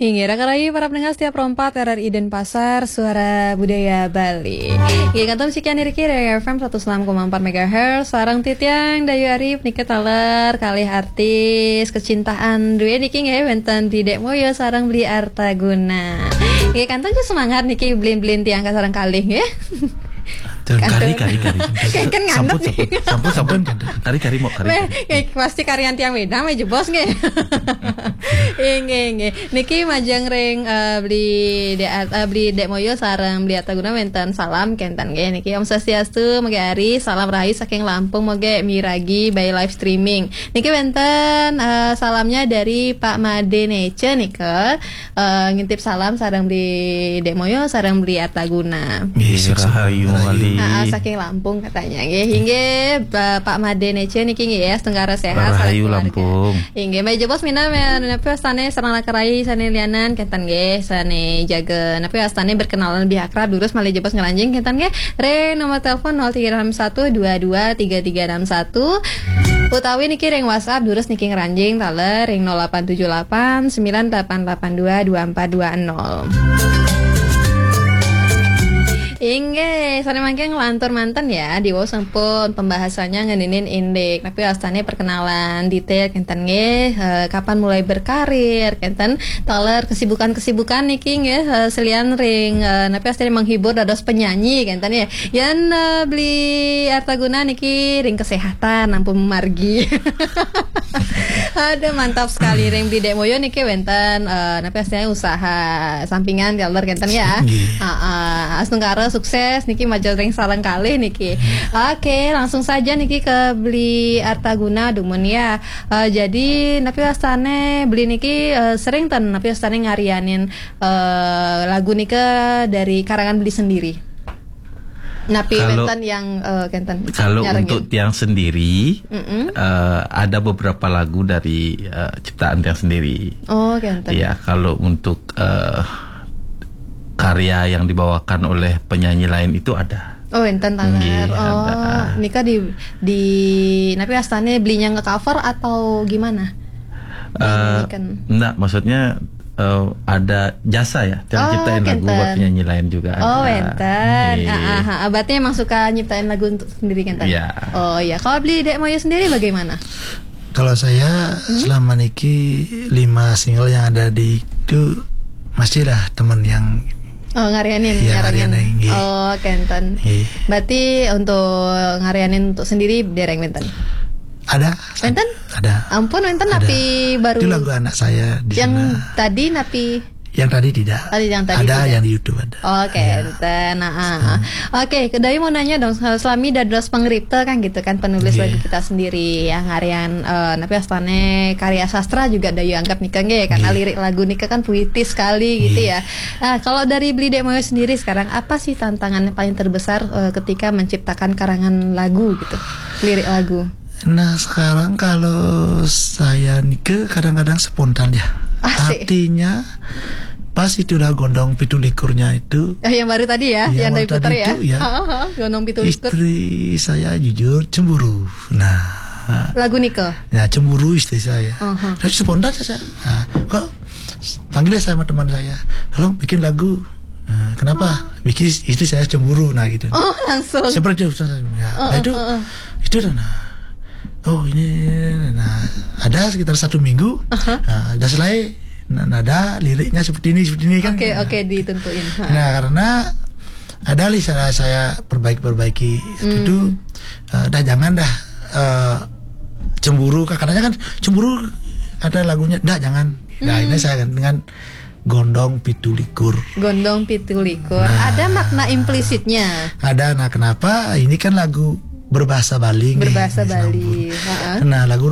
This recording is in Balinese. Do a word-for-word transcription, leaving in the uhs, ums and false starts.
Inggih, raka rayi para pendengar setia Pro empat R R I Denpasar, Suara Budaya Bali. Inggih, kantun sekian diri dari F M seratus enam koma empat megahertz, sareng titiang Dayu Arif niki taler kalih artis kecintaan duwe niki nggih wenten Bli Dek Moyo sareng Bli Artaguna. Nggih, kantun semangat niki blin-blin tiang ka sareng kalih nggih. Kari, kari, kari. Kan ngantuk sampun, nih. Sampun, sampun, sampun. Kari, kari, mau kari. Weh, kari. Eh, pasti karian tiang wedang, weh, jebos, nggih. Inggih, inggih. Niki majeng ring, eh, Bli Dek, eh, Bli Dek Moyo sareng Bli Artaguna wenten salam kenten, nggih. Niki Om Swastiastu, moga ari, salam rahayu saking Lampung, moga miragi by live streaming. Niki wenten, eh, salamnya dari Pak Made Nece, nika. Eh, ngintip salam sareng Bli Dek Moyo, sareng Bli Artaguna. Nggih, rahayu malih. Ah, ah, saking Lampung katanya. Nggih, inggih, Pak Made Nece niki nggih ya, setengah sehat, rahayu sareng keluarga. Lampung. Inggih, meja bos mina, me-, napi wastane sareng raka rayi sane lianan, kenten nggih, sane jaga, napi wastane berkenalan lebih akrab, durus malih jebos ngranjing, kenten nggih. Re nomor telepon nol tiga enam satu dua dua tiga tiga enam satu. Utawi niki ring WhatsApp, durus niki ngranjing taler ring nol delapan tujuh delapan sembilan delapan delapan dua dua empat dua nol. Inggih, sane mangkin nglantur manten ya, diwau sampun pembahasannya ngeninin indik. Tapi wastane perkenalan detail kenten nggih, eh, kapan mulai berkarir, kenten taler kesibukan-kesibukan niki nggih, eh, selian ring, eh, napi wastane menghibur dados penyanyi kenten ya. Yan, eh, Bli Artaguna niki ring kesehatan ampun margi. Aduh, mantap sekali ring Bli Dek Moyo niki wenten, eh, napi wastane usaha sampingan taler kenten ya. Nggih. Heeh, astungkara sukses niki majeng ring sareng kalih niki. Oke, langsung saja niki ke Bli Artaguna dumun ya. Eh, jadi napi wastane Bli niki, eh, sering ten napi wastane ngarianin, eh, lagu nika dari karangan Bli sendiri? Napi kalau, wenten yang, eh, kenten kalau nyarengin? Untuk tiang sendiri, mm-mm, eh, ada beberapa lagu dari, eh, ciptaan tiang sendiri. Oh, kenten. Ya, kalau untuk, eh, karya yang dibawakan oleh penyanyi lain itu ada. Oh, wenten taler. Nggih, oh, ada. Nika di, di, napi wastane Bli nya nge-cover atau gimana? Eh, nggih, kan. Enggak, maksudnya, eh, ada jasa ya, tiang, oh, ciptain lagu buat penyanyi lain juga ada. Oh, wenten. Nggih. Ah, ah, ah. Berarti emang suka nyiptain lagu untuk sendiri kenten? Iya. Oh, iya. Kalau Bli Dek Moyo sendiri bagaimana? Kalau saya, hmm, selama niki lima single yang ada di itu masih lah teman yang, oh, ngarianin, iya, nyarengin. Ngarianin, nggih. Oh, kenten. Nggih. Berarti untuk ngarianin untuk sendiri dereng wenten? Ada. Wenten? Ada. Ampun, wenten. Ada. Napi baru? Itu lagu anak saya di yang sana. Tadi napi? Yang tadi tidak. Oh, yang tadi ada tidak. Yang di YouTube ada. Oke, ya. Enten. Nah, ah, ah. Hmm. Oke, Dayu mau nanya dong, selami dados pangripta kan gitu kan, penulis, iya, lagu kita sendiri, yang ngarian, eh, napi wastane karya sastra juga Dayu anggap nika nggih, karena, iya, lirik lagu nika kan puitis sekali gitu, iya, ya. Nah, kalau dari Bli Dek Moyo sendiri sekarang, apa sih tantangan yang paling terbesar, eh, ketika menciptakan karangan lagu gitu? Lirik lagu. Nah, sekarang kalau saya nike kadang-kadang spontan ya. Asik. Artinya, pas itu udah gondong pitu likurnya itu. Eh, yang baru tadi ya, iya, yang baru tadi putar ya? Itu, ya. Ha, ha, ha, gondong pitu likur. Istri saya jujur cemburu. Nah. Lagu nike? Ya, cemburu istri saya. Aha. Saya spontan saja. Nah, kok panggil saya sama teman saya, "Tolong bikin lagu." Nah, kenapa? Oh. Bikin istri saya cemburu, nah gitu. Oh, langsung. Seperti itu, ya. Oh, nah, itu, oh, oh, itu dah, nah. Oh, ini, nah, ada sekitar satu minggu. Aha. Nah, ada selai, nah, nada, liriknya seperti ini, seperti ini kan. Oke, oke, ditentuin. Ha. Nah, karena ada lih saya, saya perbaiki-perbaiki. Hmm. Itu, eh, dah jangan dah, eh, cemburu. Katanya kan cemburu ada lagunya, dah jangan. Nah, hmm, ini saya dengan gondong pitu likur. Gondong pitu likur. Nah. Ada makna implisitnya? Ada. Nah, kenapa? Ini kan lagu berbahasa Bali, nggih, berbahasa Bali. Sampun. Heeh. Nah, lagu